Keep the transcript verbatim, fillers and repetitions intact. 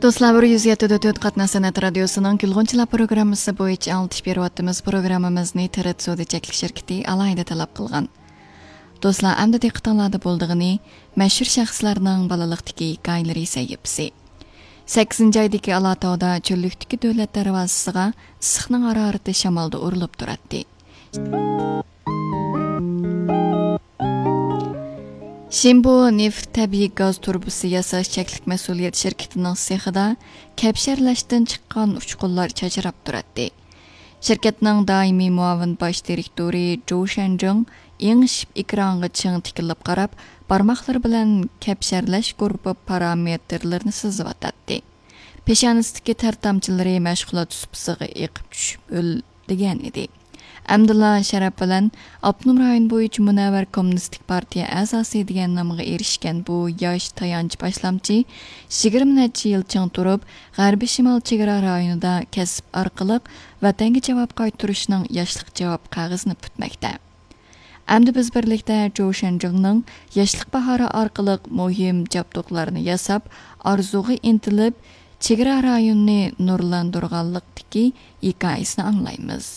دوستلار، بىر يۈز يەتتە دۆت قاتناش سەنئەت رادىيوسىنىڭ گۈلغۇنچىلار پروگراممىسى بويىچە ئاڭلىتىش بېرىۋاتىمىز. پروگراممىمىزنى تىرىت سودا چەكلىك شىركىتى ئالاھىدە تەلەپ قىلغان. دوستلار، ئەمدى دىققىتىڭلاردا بولىدىغىنى مەشھۇر شەخسلەرنىڭ بالىلىقتىكى ھېكايىلىرى سەھىپىسى. سەككىزىنچى ئايدىكى ئالاتاۋدا چۆللۈكتىكى دۆلەت دەرۋازىسىغا ئىسسىقنىڭ ھارارىتى شامالدا ئۇرۇلۇپ تۇراتتى. شىنبو نېفىت تەبىئىي گاز تۇرۇبىسى ياساش چەكلىك مەسئۇلىيەت شىركىتىنىڭ سېخىدا كەپشەرلەشتىن چىققان ئۇچقۇنلار چاچراپ تۇراتتى. شىركەتنىڭ دائىمىي مۇئاۋىن باش دىرېكتورى جوۋ شەنجىڭ ئېڭىشىپ ئېكرانغا چىڭ تىكىلىپ قاراپ، بارماقلىرى بىلەن كەپشەرلەش گۇرۇپپا پارامېتىرلىرىنى سىزىۋاتاتتى. پېشانىسىدىكى تەر تامچىلىرى مەشغۇلات سۇپىسىغا ئېقىپ چۈشۈپ ئۆلدۈگەن ئىدى. ئەمدىلا شەرەپ بىلەن ئاپتونوم رايون بويىچە مۇنەۋۋەر كوممۇنىستىك پارتىيە ئەزاسى دېگەن نامغا ئېرىشكەن بۇ ياش تايانچ باشلامچى يىگىرمە نەچچە يىل چىڭ تۇرۇپ، غەربىي شىمال چېگرا رايونىدا كەسىپ ئارقىلىق ۋەتەنگە جاۋاب قايتۇرۇشنىڭ ياشلىق جاۋاب قەغىزىنى پۈتمەكتە. ئەمدى بىز بىرلىكتە جوۋ شەنجىڭنىڭ ياشلىق باھارى ئارقىلىق مۇھىم جابدۇقلارنى ياساپ، ئارزۇغا ئىنتىلىپ، چېگرا رايونىنى نۇرلاندۇرغانلىقتىكى ھېكايىسىنى ئاڭلايمىز.